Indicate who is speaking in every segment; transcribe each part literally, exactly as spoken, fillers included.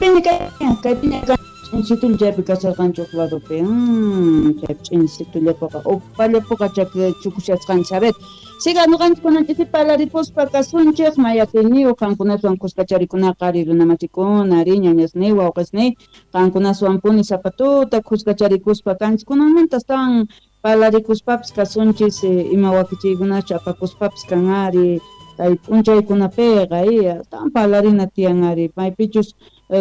Speaker 1: Kaypiña kaypiña ch'insitulla chaypi kasharqanchik uq ladopi. Mm, chaypi ch'insitullapiqa upallapiqa chukushasqanchik. A ver, siga ñuqanchik kunan ch'isi parlarikuspa kasunchik mayatiyniyuq qankunaswan khuskacharikunaqa ari runamasikuna ari ñañasniy wawqisniy qankunaswanpuni sapa tuta khuskacharikuspa kanchik kunanmanta astawan parlarikuspapis kasunchis ima wakichiykunachu apakuspapis kan ari kay p'unchaykunapiqa astawan parlarina tiyan ari maypichus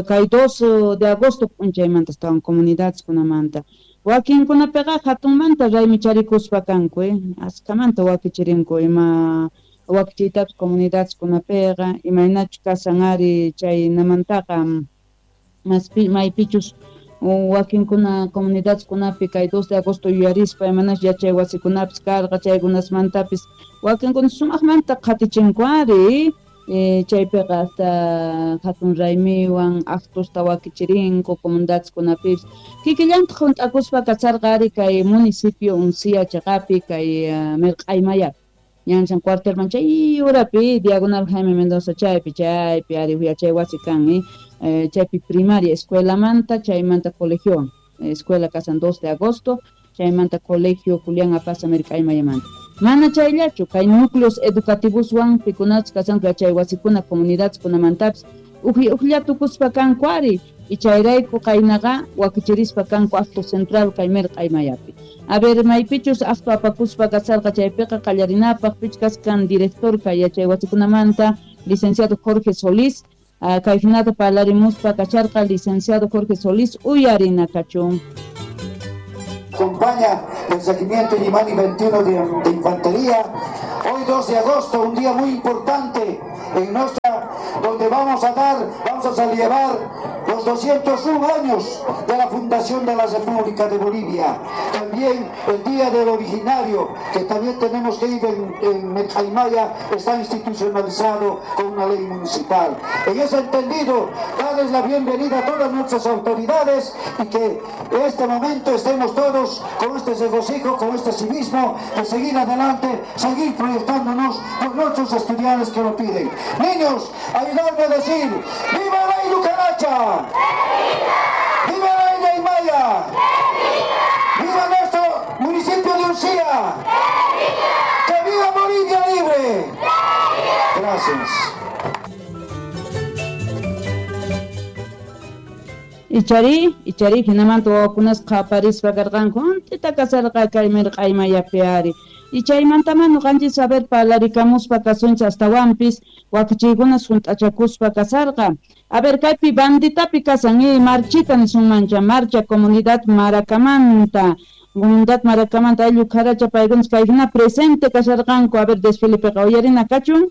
Speaker 1: kay dos de agosto p'unchaymanta astawan comunidadeskunamanta wakinkunapiqa hatunmanta raymicharikuspa kanku askhamanta wakichirinku ima wakichiytapis comunidadeskunapiqa imaynachu kasan ari chaynamantaqa maspi maypichus wakinkuna comunidadeskunapi kay dos de agosto yuyarispa imanachus yachay wasikunapis karqa chaykunasmantapis wakinkuna sumaqmanta qhatichinku ari chaypiqa hasta hatun raymiwan actosta wakichirinku comunidadeskunapipis kikillantaq hunt'akuspa kacharqa ari kay municipio Uncía chaqapi kay Mirq'aymayapi ñanchan cuartelman chay urapi Diagonal Jaime Mendoza chaypi chaypi ari yachay wasi kan chaypi primaria escuelamanta chaymanta colegiowan escuela kasan dos de agosto chaymanta colegio Julián Apaza Mirq'aymayamanta mana chayllachu kay núcleos educativoswan pikunachus kasanku yachay wasikuna comunidadeskunamantapis uj ujllatukuspa kanku ari y chayrayku qaynaqa wakichirispa kanku acto central kay Mirq'aymayapi. A ver, maypichus acto apakuspa kasarqa chaypiqa qallarinapaq pichkas kan director kay yachay wasikunamanta licenciado Jorge Solís kay hinata parlarimuspa kacharqa licenciado Jorge Solís uyarina kachun.
Speaker 2: Acompaña el Regimiento Illimani veintiuno de, de Infantería. Hoy dos de agosto, un día muy importante en nuestra, donde vamos a dar, vamos a celebrar los doscientos uno años de la fundación de la República de Bolivia. También el Día del Originario, que también tenemos que ir en, en Mirq'aymaya, está institucionalizado con una ley municipal. En ese entendido, darles la bienvenida a todas nuestras autoridades y que en este momento estemos todos con este regocijo, con este civismo, de seguir adelante, seguir proyectándonos por nuestros estudiantes que lo piden. Niños, ayudadme a decir, ¡viva la Ilucaracha! ¡Viva la Illimaya! ¡Viva nuestro municipio de Uncía! ¡Que viva Bolivia libre! Gracias.
Speaker 1: Ichari, ichari, hinamanta wawakunas qaparispa karqanku, hunt'ita kasarqa kay Mirq'aymayapi ari. Y chaymantama ñuqanchis a ver parlarikamuspa kasunchik astawanpis wakichiykunas hunt'achakuspa kasarqa. A ver, kaypi banditapi kasan y marchita nisunmancha, marcha comunidad Maracamanta. Comunidad Maracamanta ayllu kharacha paykunas kay hina presente kasharqanku. A ver, desfilepiqa uyarina kachun.